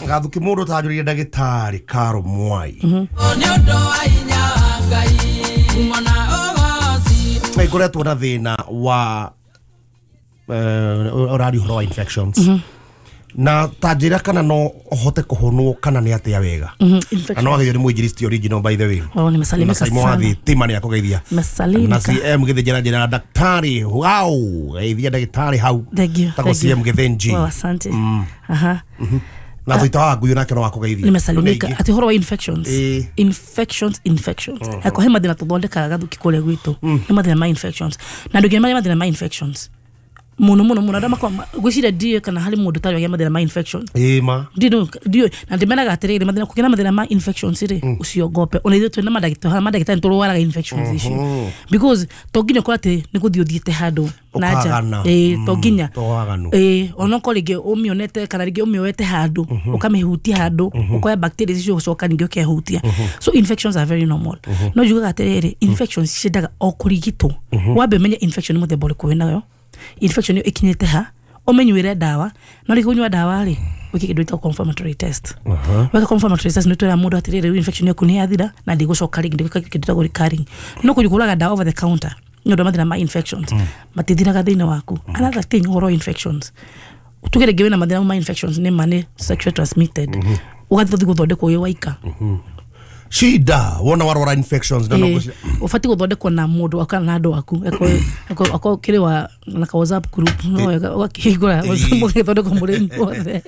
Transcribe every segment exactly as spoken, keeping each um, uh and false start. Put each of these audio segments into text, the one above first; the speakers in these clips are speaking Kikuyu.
Gathuki mundu tanjuririe ndagitari Caro Mwai. Ikoretwo na thina wa urari uhoro wa infections. Na tanjira kana no hote kuhonwo kana ni atia wega. Na no ageithio ni mwinjilisti original by the way. Oh, nimesalimika sana. Na Simon tima ni akugeithia. Nimesalimika. Na C M githinjira njira daktari. Wow, geithia daktari hau. Thank you. Tako C M Githinji. Wow, asante. Aha. Na thuita wa nguyu nake no akugeithia. Nimesalimika. Ati horo wa infections. Infections, infections. Hako he mathina tuthondekaga gathuki kuria gwitu. Ni mathina ma infections. Na ndugi ma mathina ma infections. Muno muno muno arĩa makoragwo ngwĩciria ndiũĩ kana harĩ mũndũ ũtarĩ wagĩa mathĩna ma infection. Ĩĩ ma. Ndiũĩ na ndĩmenaga atĩrĩrĩ mathĩna kũgĩa na mathĩna ma infections rĩ ũciongope ona ithuĩ twĩna mandagĩtarĩ mandagĩtarĩ nĩtũrwaraga infections icio because to nginya ũkorwo atĩ nĩ gũthiĩ ũthiĩte handũ na nja ĩĩ to nginya ĩĩ onokorwo rĩngĩ ũmĩonete kana rĩngĩ ũmĩoete handũ ũkamĩhutia handũ ũkoya bacteria icio ũcoka ningĩ ũkehutia. So infections are very normal. No njugaga atĩrĩrĩ infections ciendaga o kũrigitwo. Wambe ũmenye infection nĩ mũthemba ũrĩkũ wĩnayo. Infection yo ikinyite ha umenyuire dawa no ri kunywa dawa ri wiki kindu gitagwo confirmatory test. Weka confirmatory test ni twira mundu atiriri infection yaku ni yathira na ndigucoka ringi ndiguka kindu gitagwo recurring. No kujuguraga dawa over the counter ni undu mathina ma infections matithiraga thiini waku. Another thing horo infections tugere ngiwe na mathina ma infections ni mane sexually transmitted ugathi guthondekwo wi waika shida wona warora infections na no ufati guthondekwo na mundu akana na andu aku eko eko kiri wa na ka WhatsApp group no wakihingura muthondekwo muri inyuothe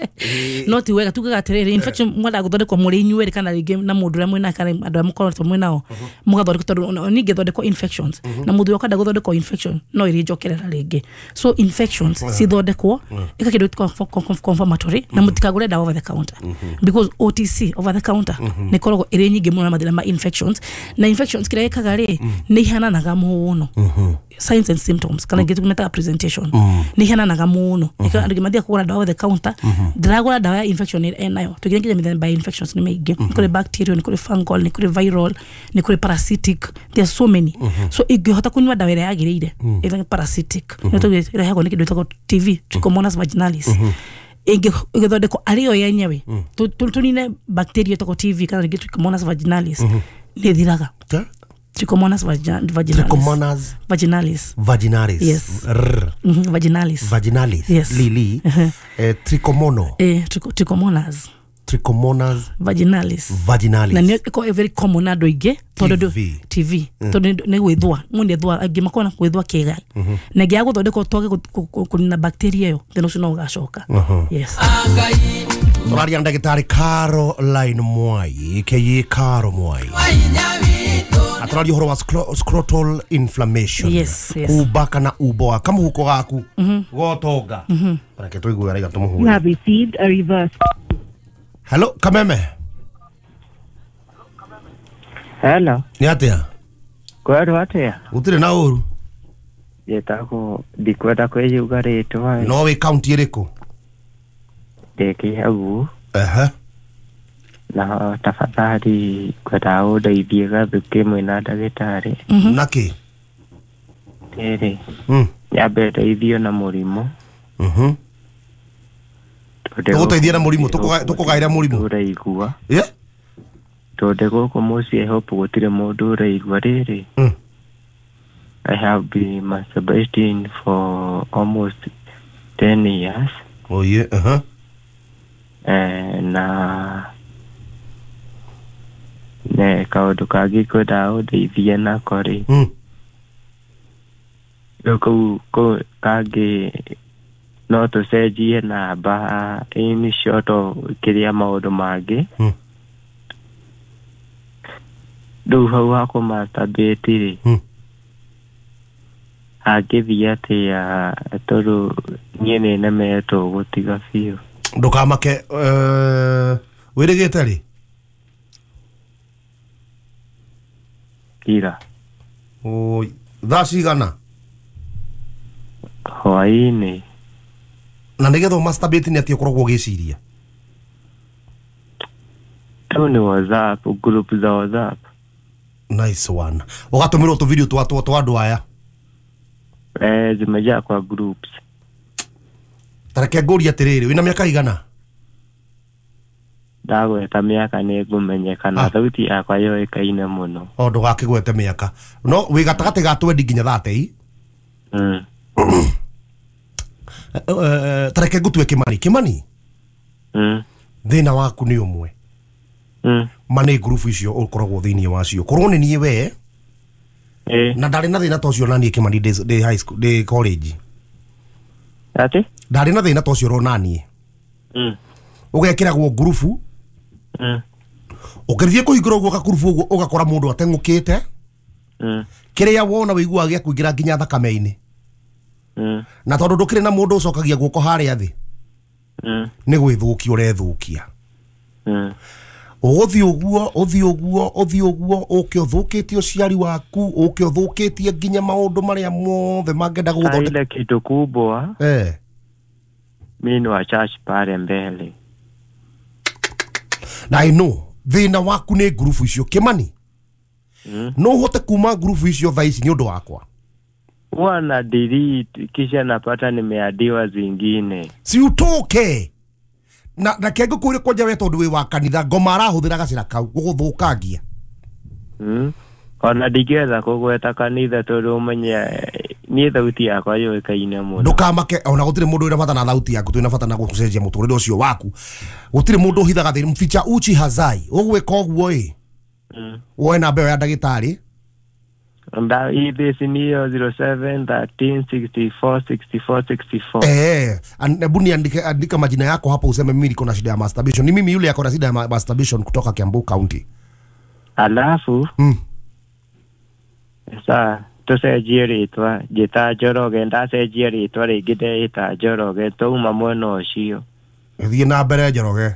no ti wega tugaga atiriri infection mwenda guthondekwo muri inyuere kana ringi na mundu uria mwina kana andu aria mukoretwo mwinao mugathondekwo tondu ningithondekwo infections na mundu ukenda guthondekwo infection no iri njokerera ringi. So infections cithondekwo ika kindu confirmatory na mutikagure dawa over the counter because O T C over the counter ni koragwo iri nyingi muno mathina ma infections na infections kira ikaga ri ni ihananaga muno signs and symptoms kana gitu meta presentation ni ihananaga muno andu mathia kugura dawa over the counter ndiragura dawa ya infection enayo tugira nginya mithemba ya infections ni maingi kuri bacterial ni kuri fungal ni kuri viral ni kuri parasitic, there are so many. So ingihota kunywa dawa ira yagiriire ira parasitic ni tugira irehagwo ni kindu gitagwo T V Trichomonas vaginalis ingithondekwo arĩ yo yenyewe tunine bacteria ĩtagwo T V kana rĩngĩ Trichomonas vaginalis nĩ ĩthiraga. Trichomonas vaginalis. Trichomonas vaginalis. Vaginalis. Yes. R. Mm-hmm. Vaginalis. Vaginalis. Yes. Lili. Uh-huh. Eh, trichomono. Eh, tricho, trichomonas. Trichomonas vaginalis. Vaginalis. Na nĩ ĩkoragwo very common andũ aingĩ tondũ T V tondũ nĩ gwĩthũa mũndũ ethũa angĩ makoragwo na gwĩthũa kĩga na ĩngĩ ya gũthondekwo twage kũnina bacteria ĩyo thĩna ũcio no ũgacoka. Yes. Tũraria na ndagĩtarĩ Caroline Mwai aka Caro Mwai. Atũraria ũhoro wa scrotal inflammation. Yes, yes. Kuba kana uboa kamuhuko gaku gotonga. Reke tũigue araiga tũmũhure. You have received a reverse. Hello, Kameme. Hello. Ni atia? Kwerwo atia? Gutire na uru. Njĩtagwo ndikwenda kwĩyuga rĩtwa. No wĩ kaunti ĩrĩkũ? Ndĩ Kĩhagu. Ehe. Na tafadhali ngwendaga ũndeithie gathuki mwĩna ndagĩtarĩ. Nakĩ? Rĩrĩ. Mm. Nyambe ndeithio na mũrimũ. Mhm. Tũgũteithia na mũrimũ tũkũgaĩra mũrimũ. Ũraigua. Yeah. Tondũ gũkũ mũciĩ hope gũtirĩ mũndũ ũraigua rĩrĩ. Mm. I have been masturbating for almost ten years. Oh yeah, uh-huh. Eh, na ne kaũndũ kangĩ ngwendaga ũndeithie nako rĩ. Mm. Rĩu kau kau kangĩ no tũcenjie namba in short kĩrĩa maũndũ mangĩ. Mm. Rĩu hau ha kũmasturbate rĩ. Mm. Hangĩthiĩ atĩa tondũ niĩ nĩ nemetwo gũtiga biũ. Ndũkamake uh, wĩrĩgĩte rĩ? Ira. Oi, thaa cigana? Hwaĩ-inĩ. Na nĩgetha ũmasturbate nĩ atĩa ũkoragwo ũgĩciria? Tu ni WhatsApp, group za WhatsApp. Nice one. Ũgatũmĩrwo tũ video twa twa andũ aya? Eh, zimejaa kwa groups. Tareke ngũrie atĩrĩrĩ, wĩna mĩaka igana? Ndagweta mĩaka nĩ ngũmenyekana Ah. thauti yakwa yũĩkaine mũno. O ndũgakĩgwete mĩaka no wĩ gatagatĩ ga twendi nginya thate. Mm. Tareke ngũtue Kimani. Kimani, Mm. thĩna waku nĩ ũmwe. Mm. Ma nĩ ngurubu icio ũkoragwo thĩinĩ wacio korwo nĩ niĩ we Eh. na ndarĩ na thĩna ta ũcio naniĩ Kimani ndĩ ndĩ high school ndĩ college. Ati? Ndarĩ na thĩna ta ũcio ronaniĩ. Mm. Ũgekĩragwo ngurubu. Mm. Ũkĩthiĩ kũhingũra ũguo gakurubu ũguo ũgakora mũndũ ateng'ũkĩte. Mm. Kĩrĩa wona wĩiguaga gĩa kũingĩra nginya thakame-inĩ. Mm. Na tondũ ndũkĩrĩ na mũndũ ũcokagia guoko harĩa thĩ Mm. nĩ gwĩthũkia ũrethũkia. Mm. Ũgũthiĩ ũguo ũthiĩ ũguo ũthiĩ ũguo ũke ũthũkĩtie ũciari waku ũke ũthũkĩtie nginya maũndũ marĩa mothe mangĩenda gũgũthondeka. Ile kitu kubwa Eh. mimi ni wa church pale mbele. Na I know thĩna waku nĩ ngurubu icio Kimani. Mm. No ũhote kuma ngurubu icio thaa ici nĩ ũndũ wakwa. Huwa na delete kisha napata nimeadiwa zingine. Si utoke na na kenge kwire kwanja we tondu wi wa kanitha ngoma arahuthira gacira kau guguthukangia. Mm. Ona ndingĩweza kũgweta kanitha tondũ ũmenye niĩ thauti yakwa yũĩkaine mũno. Ndukamake ona gutire mundu wina bata na thauti yaku twina bata na gucenjia muturire ucio waku. Gutire mundu uhithaga thini mficha uchi hazai ugwika uguo ĩ. Mm. Woe namba ĩyo ya ndagĩtarĩ. Nda ithi niyo zero seven thirteen sixty four sixty four sixty four. Eh, hebu niandike andika majina yako hapo useme mimi niko na shida ya masturbation. Ni mimi yule yako na shida ya masturbation kutoka Kiambu County. Alafu mm. Sa tucenjie rĩtwa njĩta Njoroge ndacenjia rĩtwa rĩngĩ ndeĩta Njoroge twauma mwena ũcio. Thiĩ na mbere Njoroge.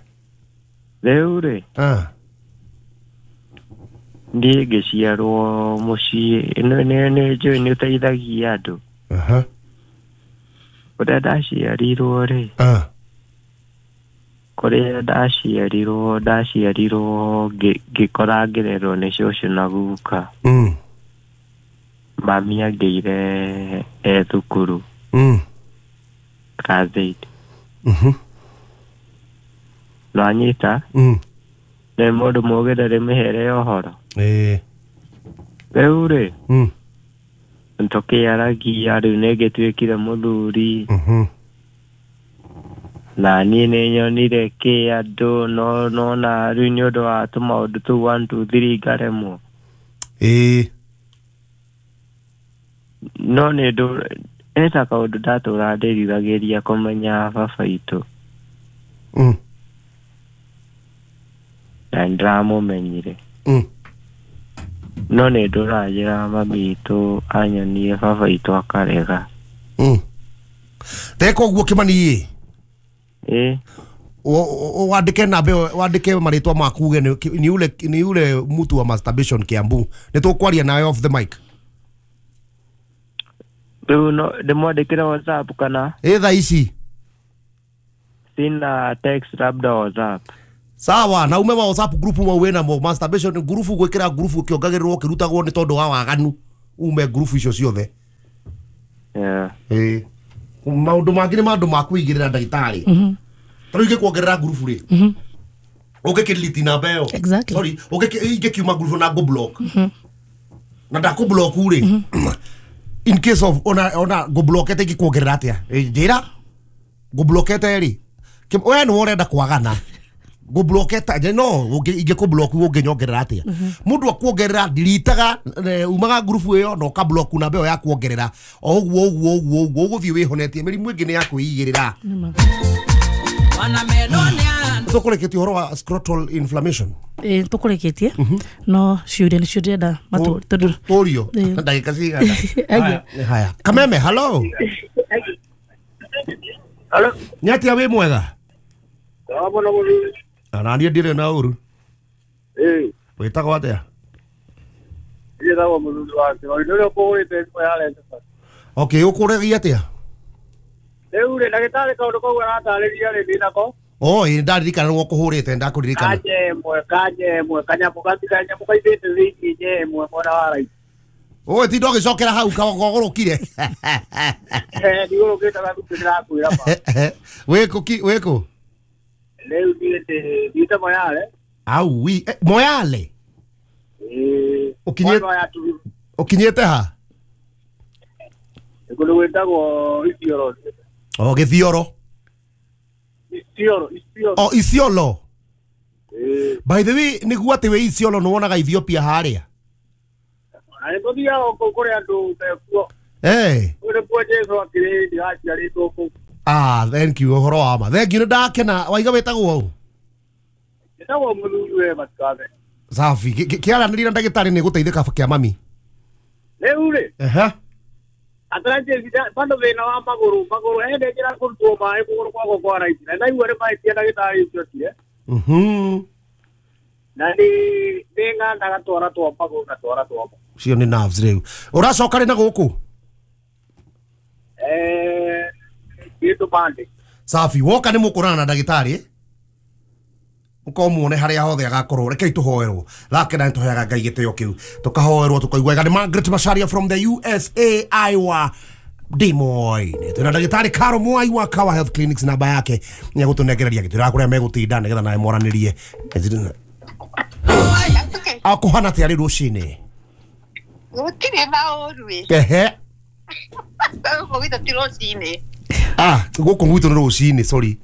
Rĩu rĩ ah niĩ ngĩciarwo mũciĩ nĩ nĩ njũĩ nĩ ũteithagia andũ. Aha. Kũrĩa ndaciarirwo rĩ ah kũrĩa ndaciarirwo ndaciarirwo ngĩkora ngĩrerwo nĩ cũcũ na guka. Mm. Mami angĩire e thukuru. Mm. Class eight. Mhm. Nĩwanyita? Mm. Nĩ mũndũ mũgĩ ndarĩ mĩhere ya ũhoro. Eh. Rĩu rĩ Mm. tũkĩaragia rĩu nĩngĩtuĩkire mũthuri. Mhm. Na niĩ nĩnyonire kĩ andũ no nona rĩu nĩ ũndũ wa tũmaũndũ tũu one two three ngaremwo. Eh. No nĩ ndũ eta kaũndũ ndatũra ndĩriragĩria kũmenya baba itũ. Mm. Na nĩndĩramũmenyire. Mm. No nĩ ndũranjĩra mami itũ anyonie baba itũ akarega. Mm. Teka ũguo Kimani ĩ. Eh. Wandĩke namba ĩyo wandĩke marĩtwa maku uge ni ule ni ule mtu wa masturbation Kiambu. Nĩ tũkwaria nawe off the mic. Rĩu no ndĩmwandĩkĩre WhatsApp kana? Ĩ thaa ici. Sina text labda WhatsApp. Sawa na ume wa WhatsApp group mau wĩna mo masturbation group gwĩkĩra group ũkĩongagĩrĩrwo ũkĩrutagwo nĩ tondũ wa waganu ume group icio ciothe. Yeah. Eh. Maũndũ mangĩ nĩ maũndũ ma kũigĩrĩra ndagĩtarĩ. Mhm. Ta rĩu ingĩkuongerera group rĩ. Mhm. Ũngĩkĩdelete namba ĩyo. Exactly. Sorry, ũngĩkiuma group na ngũ block. Mhm. Na ndakũ block rĩ. In case of ona ona ngũ blockete ingĩkuongerera atĩa? Njĩra ngũ blockete rĩ. We nĩ ũrenda kwagana. Ngũ blocketa nje no ingĩkũ block ũngĩnyongerera atĩa? Mũndũ akuongerera deletaga umaga group ĩyo na ũka block namba ĩyo ya kuongerera. O ũguo ũguo ũguo ũguo ũgũthiĩ wĩhonetie mĩrimũ ĩngĩ nĩ ya kwĩigĩrĩra. Tũkũrĩkĩtie ũhoro wa scrotal inflammation. Eh tũkũrĩkĩtie no ciũria nĩcio ndĩrenda matũ tondũ tũrio ndagĩka cigana. Haya. Kameme, hello. Hello. Nĩ atĩa wĩ mwega? Ndabona mũthuri. Na niĩ ndirĩ na ũru. Eh. Wĩtagwo atĩa? Njĩtagwo mũthuri wa Kĩrori ũrĩa ũkũhũrĩte thimũ ya Renta. Okay, ũkũregia atĩa? Rĩu rĩ ndagĩtarĩ kaũndũ kau aratarĩria rĩ ndĩnako. Oh, ĩ ndaririkana nĩwe ũkũhũrĩte ndakũririkana. Kanje ĩmwe kanje ĩmwe kanyamũ kanyamũ kaithĩte thĩinĩ nje ĩmwe mwena wa right. Oi tinda ũgĩcokera hau kagũrũkire. Eh ndigũrũkĩte gathukĩ ndĩrakwĩra ma. Wĩkũ ki wĩkũ? Rĩu niĩ ndĩ thiĩte Moyale. Au wi eh, Moyale. Ĩĩ. Ũkinyĩte ũkinyĩte ha? Kũndũ gwĩtagwo Isiolo. O Gĩthioro. Isiolo, Isiolo. O Isiolo. Ĩĩ. By the way, nĩguo atĩ wĩ Isiolo nĩ wonaga Ethiopia harĩa. Na nĩ tũthiaga kũu kũrĩ andũ mekuo. Eh. Kũu nĩkuo Jesũ akĩrĩ hĩndĩ aciarĩtwo kũu. Ah, thank you ũhoro wa ma. Thank you nĩ ndakena. Waiga wĩtagwo ũ? Njĩtagwo mũthuri we Matikabe. Safi. Kĩaranĩria na ndagĩtarĩ nĩ gũteithĩka kĩa mami. Rĩu rĩ. Ehe. Atarajie bado thĩna wa magũrũ magũrũ hĩndĩ njĩra kũrutwo maĩ kũgũrũ gwakwa kwa right na ndaigua nĩ mahĩtia ndagĩtarĩ ũcio okire. Mhm. Na nĩ nĩ ng'andaga twara twa magũrũ na twara twa moko. Cio nĩ nerves rĩu. Ũracoka rĩ na gũkũ? Eh, gĩtũ bande. Safi, woka nĩ mũkũrana na ndagĩtarĩ. Uko muone haria hothe agakorwo rekei tuhoerwo thakena nituheaga Ngai gĩtĩo kĩu tukahoerwo tukaigua wega. Nĩ Margaret Macharia from the U S A Iowa Des Moines. Twĩna ndagĩtarĩ Caro Mwai wa Kawa Health Clinics, namba yake nĩ egũtũnengereria gĩtĩo kũrĩa megũtinda nĩgetha nawe mwaranĩrie. Akũhana atĩa rĩu rũcinĩ? Gũtirĩ na ũru ĩ. Ehe. Gũkũ gwitũ ti rũcinĩ. Ah, gũkũ gwitũ nĩ rũcinĩ, sorry.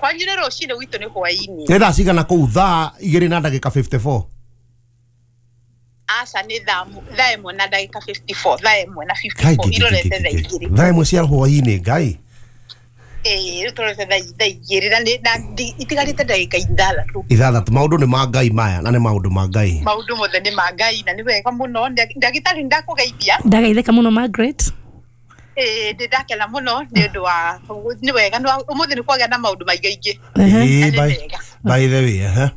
Kwanyu nĩ rũcinĩ, gwitũ nĩ hwaĩ-inĩ. Nĩ thaa cigana kũu? Thaa igĩrĩ na ndagĩka fifty four. Aca nĩ thaa thaa ĩmwe na ndagĩka fifty four, thaa ĩmwe na fifty four irorete thaa igĩrĩ. Thaa ĩmwe cia hwaĩ-inĩ, Ngai. Ĩĩ, rĩu tũrorete thaa igĩrĩ na nĩ na itigarĩte ndagĩka ithathatũ. Ithathatũ. Maũndũ nĩ ma Ngai maya na nĩ maũndũ ma Ngai. Maũndũ mothe nĩ ma Ngai na nĩ wega mũno. Ndagĩtarĩ ndakũgeithia. Ndageithĩka mũno Margaret. Eh, ndĩ ndakena mũno nĩ ũndũ wa nĩ wega ũmũthĩ nĩ kwagĩa na maũndũ maingaingĩ. Ĩĩ, by by the way, ehe.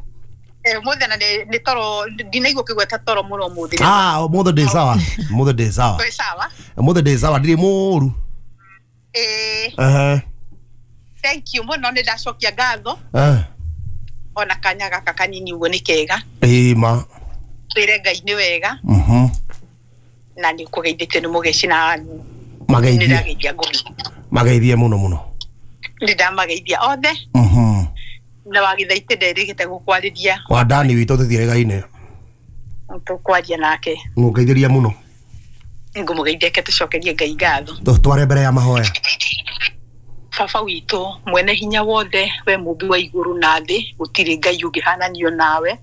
Eh, ũmũthĩ na nĩ toro ndinaigua ũkĩgweta toro mũno ũmũthĩ. Ah, ũmũthĩ ndĩ sawa. Ũmũthĩ ndĩ sawa. Ndĩ sawa. Ũmũthĩ ndĩ sawa, ndirĩ mũru. Ĩĩ. Ehe. Thank you mũno, nĩ ndacokia ngatho. Eh. Ona kanya gaka kanini ũguo nĩ kega. Ĩĩ ma. Twĩre Ngai nĩ wega. Mhm. Na nĩ ũkũgeithĩtio nĩ mũgeci na mageithie mageithie muno muno. Nĩ ndamageithia othe. Mhm. Na wagithaite nderĩgĩte gũkwarĩria. Wa Dani witũ tũthiĩre-gaine. Tũkwaria nake. Ngũgeithĩria mũno. Ngũmũgeithia ke tũcokerie Ngai ngatho. Tware mbere ya mahoya. Baba witũ mwene hinya wothe, we mũmbi wa igũrũ na thĩ, gũtirĩ Ngai ũngĩhananio nawe.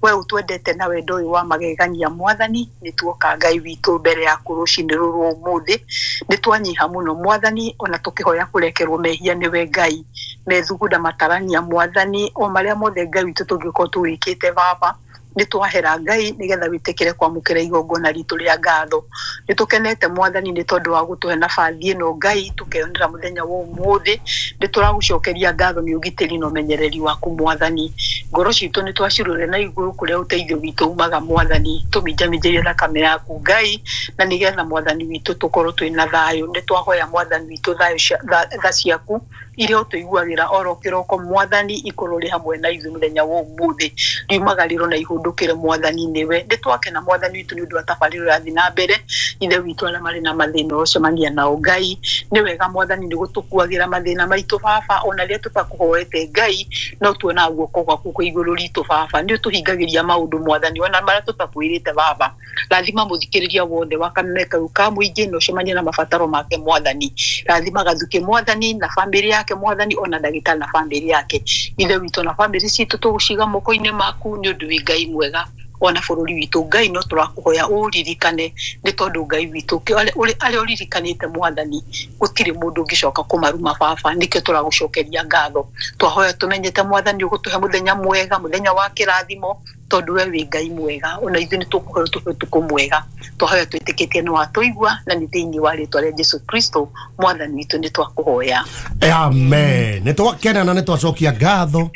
We ũtwendete na wendo ũyũ wa magegania mwathani, nĩ tuoka Ngai witũ mbere yaku rũcinĩ rũrũ ũmũthĩ. Nĩ twanyiha mũno mwathani, ona tũkĩhoya kũrekerwo mehia nĩwe Ngai. Methugunda matarania mwathani, o marĩa mothe Ngai witũ tũngĩkorwo tũwĩkĩte baba. Nĩ twahera Ngai nĩgetha wĩtĩkĩre kwamũkĩra igongona ritũ rĩa ngatho. Nĩ tũkenete mwathani nĩ tondũ wa gũtũhe nabathi ĩno Ngai tũkeyonera mũthenya wa ũmũthĩ. Nĩ tũragũcokeria ngatho nĩ ũgitĩri na ũmenyereri waku mwathani. Ngoro citũ nĩ twacirore na igũrũ kũrĩa ũteithio witũ umaga mwathani. Tũminjaminjĩrie thakame yaku Ngai, na nĩgetha mwathani witũ tũkorwo twĩna thayũ. Nĩ twahoya mwathani witũ thayũ tha ciaku iria ũtũiguagĩra oro kĩroko mwathani, ikorwo rĩ hamwe na ithuĩ mũthenya wa ũmũthĩ. Riumagarĩro na ihũndũkĩre mwathani nĩwe. Nĩ twakena mwathani witũ nĩ ũndũ wa tabarĩra ĩrathiĩ na mbere. Ithe witũ arĩa marĩ na mathĩna ũcemania nao Ngai. Nĩ wega mwathani nĩ gũtũkuagĩra mathĩna maitũ baba, ona rĩrĩa tũtakũhoete Ngai no tuonaga guoko gwaku kwĩ igũrũ ritũ baba. Nĩ ũtũhingagĩria maũndũ mwathani ona marĩa tũtakwĩrĩte baba. Rathima mũthikĩrĩria wothe wa kameme kau ka mũingĩ na ũcemanie na mabataro make mwathani. Rathima Gathuki mwathani na bamĩrĩ yake mwathani, ona ndagĩtarĩ na bamĩrĩ yake. Ithe witũ na bamĩrĩ citũ tũgũciga moko-inĩ maku nĩ ũndũ wĩ Ngai mwega. Ona bũrũri witũ Ngai no tũrakũhoya ũririkane, nĩ tondũ Ngai witũ arĩa ũririkanĩte mwathani gũtirĩ mũndũ ũngĩcoka kũmaruma baba. Nĩkĩo tũragũcokeria ngatho. Twahoya tũmenyete mwathani ũgũtũhe mũthenya mwega, mũthenya wa kĩrathimo, tondũ we wĩ Ngai mwega. Ona ithuĩ nĩ tũkũhoya ũtũhe ũtukũ mwega. Twahoya twĩtĩkĩtie nĩ watũigua, na nĩ thĩinĩ wa rĩtwa rĩa Jesũ Kristo mwathani witũ nĩ twakũhoya. Amen. Nĩ twakena na nĩ twacokia ngatho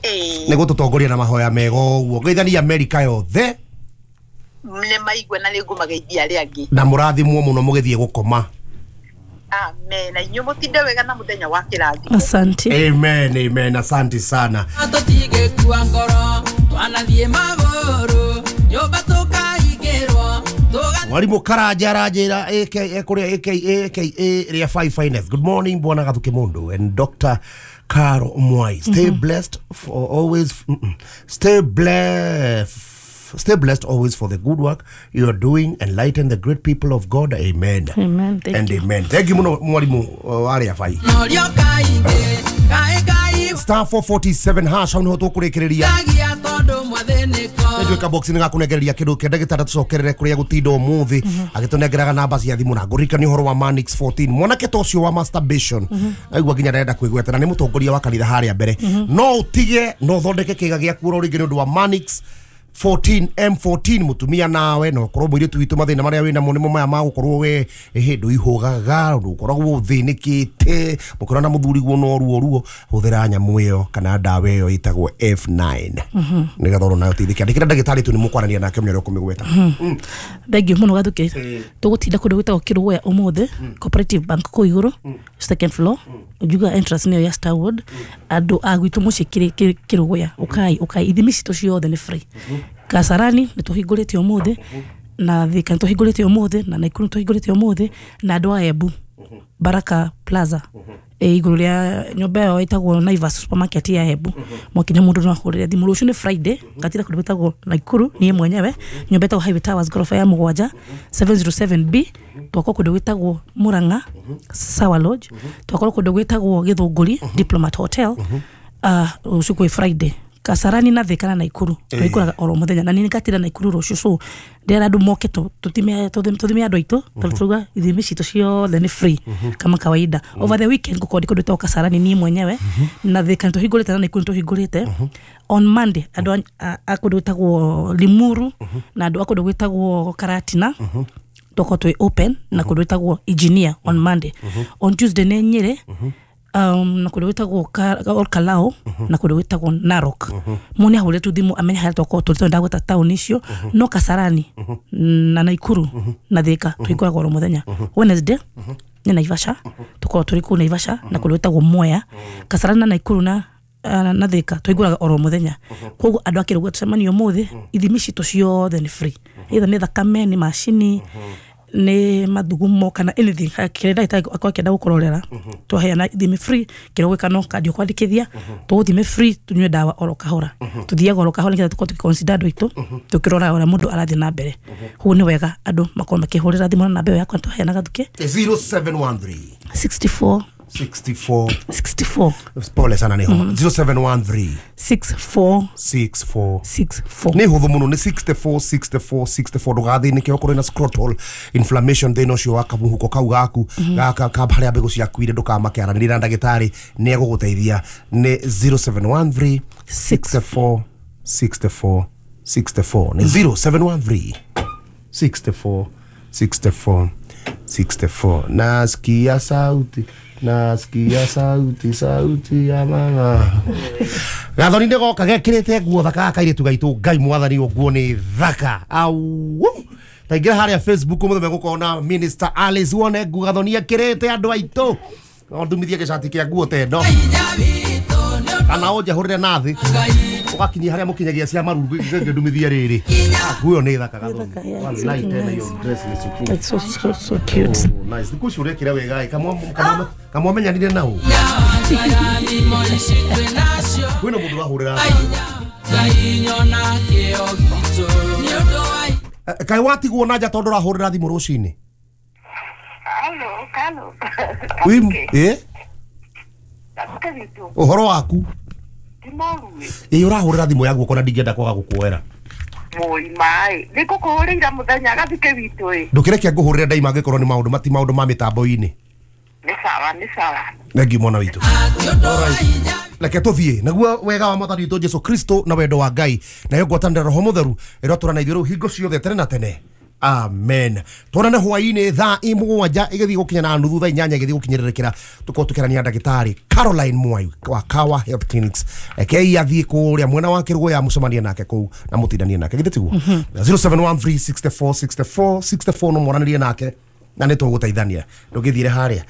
nĩ gũtũtongoria na mahoya mega ũguo. Geithania Amerika yothe. Nĩ maigua na nĩ ngũmageithia arĩa angĩ. Na mũrathimwo mũno mũgĩthiĩ gũkoma. Amen. Na inyuĩ mũtinde wega na mũthenya wa kĩrathimo. Asante. Amen, amen. Asante sana. Tũtigĩkua ngoro, twanathiĩ magũrũ, nyũmba tũkaingĩrwo. Mwalimu Karanja aranjĩra A K A kũrĩa A K A A K A ria five finest. Good morning Bwana Gathuki Mundu and Doctor Caro Mwai. Stay mm -hmm. blessed for always. Mm -mm. Stay blessed. Stay blessed always for the good work you are doing. Enlighten the great people of God. Amen. Amen. Thank and you. Amen. Thank you muno mwalimu wale afai. Star four forty-seven hash hau niho tukurekereria. Njuika box ni gakunegereria kindu kia ndagitari tucokerere kuria gutinda umuthi agitunengeraga namba cia thimu na ngũririkania ũhoro wa Manix fourteen mwanake ta ũcio wa masturbation aigua nginya ndarenda kwĩgweta na nĩ mũtongoria wa kanitha harĩa mbere no ũtige no ũthondeke kĩga gĩaku oro rĩngĩ nĩ ũndũ wa Manix fourteen M fourteen mutumia nawe no korwo mwiritu witu mathina maria wina mo nimo maya ma gukorwo we hindu ihugaga ukoragwo uthinikite mukora na muthuri guo no ruo ruo huthira nyamu iyo kana ndawa iyo itagwo F nine nigetha oro nayo teithike andikira ndagitari tu ni mukwarania nake menya uria kumigweta. Thank you muno Gathuke. Tugutinda kundu gwitagwo Kirugoya umuthi Cooperative Bank kuu iguru second floor njuga entrance niyo ya Starwood andu a gwitu mucii Kirugoya ukai ukai ithimi citu ciothe ni free. Kasarani nĩ tũhingũrĩte ũmũthĩ na Thika nĩ tũhingũrĩte ũmũthĩ na Naikuru nĩ tũhingũrĩte ũmũthĩ na andũ a Embu Baraka Plaza igũrũ rĩa nyũmba ĩyo ĩtagwo Naivas supermarket ya Embu mwakinya mũndũ no ahũrĩre thimũ. Rũciũ nĩ Friday ngatira kũndũ gwĩtagwo Naikuru niĩ mwenyewe nyũmba ĩtagwo Highway Towers goroba ya mũgwanja seven oh seven B twakorwo kũndũ gwĩtagwo Murang'a Sawa Lodge twakorwo kũndũ gwĩtagwo Gĩthũngũri Diplomat Hotel rũciũ kwĩ Friday Kasarani na Thika na Naikuru twikuraga oro muthenya na ni ngatira Naikuru rucio so ndera andu moke tutime tuthime andu aitu turuga ithimi citu ciothe ni free kama kawaida. Over the weekend ngukorwo ndi kundu Kasarani ni mwenyewe na Thika tuhingurite na Naikuru tuhingurite. On Monday andu a kundu gwitagwo Limuru na andu a kundu gwitagwo Karatina toko twi open na kundu gwitagwo Engineer on Monday. On Tuesday ni Nyeri um na kundu gwitagwo Olkalao na kundu gwitagwo Narok mune ahurire tu thimu amenye haria twakorwo turi tondu ndagweta town icio no Kasarani na Naikuru na Thika twikuraga oro muthenya. Wednesday ni Naivasha tukorwo turi kuu Naivasha na kundu gwitagwo Mwea. Kasarani na Naikuru na na Thika twiguraga oro muthenya koguo andu akirugwa tucemanie umuthi ithimi citu ciothe ni free either ni thakame ni macini ni mathugumo kana anything kire ndagitari akorwo akienda gukurorera twaheana ithimi free kire gwika no kandi ukwandikithia tuguthime free tunyue ndawa oro kahora tuthiaga oro kahora nigetha tukorwo tugiconsider andu aitu tukirora uria mundu arathie na mbere. Koguo ni wega andu makorwo makihurira thimu na namba iyo yakwa twaheana Gathuke zero seven one three sixty-four sixty-four sixty-four pole sana ni homa zero seven one three six four six four six four ni huthu muno ni sixty-four sixty-four sixty-four ndugathinike okorwo na scrotal inflammation thina ucio wa kamuhuko kau gaku gaka ka haria mbegu ciaku ire ndukamake aranĩria na ndagĩtarĩ nĩ egũgũteithia ni zero seven one three sixty-four sixty-four sixty-four ni zero seven one three sixty-four sixty-four sixty-four. Nasikia sauti nasikia sauti sauti ya mama Gathoni nĩ goka gekĩrĩte nguo thaka kairĩtu gaitũ Ngai mwathani nguo nĩ thaka au taingĩra harĩa Facebook mũthenya gũkona Minister Alice wone nguo Gathoni ekĩrĩte andũ aitũ no ndumithie gĩcati kĩa nguo ta ĩno kana ũnjahũrĩre nathĩ ũgakinyia harĩa mũkinyagia cia marungu ngĩndumithie rĩrĩ nguo nĩ thaka Gathoni wallahi tena hiyo dress ni super. It's so so so cute. Oh, nice thikũ icio ũrekĩra wega kamwa kamwa menyanire nau kwĩna mũndũ ũrahũrĩra kaĩ watigwo na nja tondũ ũrahũrĩra thimũ rũcinĩ. Halo, halo. Ĩ ũhoro waku ĩ ũrahũrĩra thimũ ya guoko na ndingĩenda kwaga gũkuoera Moi mai nĩ ngũkũhũrĩire mũthenya Gathike witũ ĩ ndũkĩreke ngũhũrĩre ndaima angĩkorwo nĩ maũndũ mati maũndũ ma mĩtambo-inĩ. Nĩ sawa nĩ sawa thengiũ mwana witũ. Reke tũthiĩ naguo wega wa mwathani witũ Jesu Kristo na wendo wa Ngai nayo ngwatanĩro Roho Mũtheru ĩrotũra na ithuĩ rĩu hingo ciothe tene na tene. Amen. Tuonane hwainĩ thaa mũgwanja ĩgĩthiĩ gũkinya na nuthu thaa inyanya ĩgĩthiĩ gũkinyĩrĩrĩkĩra tũkorwo tũkĩrania ndagĩtarĩ Caroline Mwai wa Kawa Health Clinics. Rekei athiĩ kũrĩa mwena wa Kĩrũgũya mũcemanie nake kũu na mũtindanie nake githĩ tiguo zero seven one three six four six four six four no mwaranĩrie nake na nĩ tũgũteithania ndũgĩthiĩre harĩa.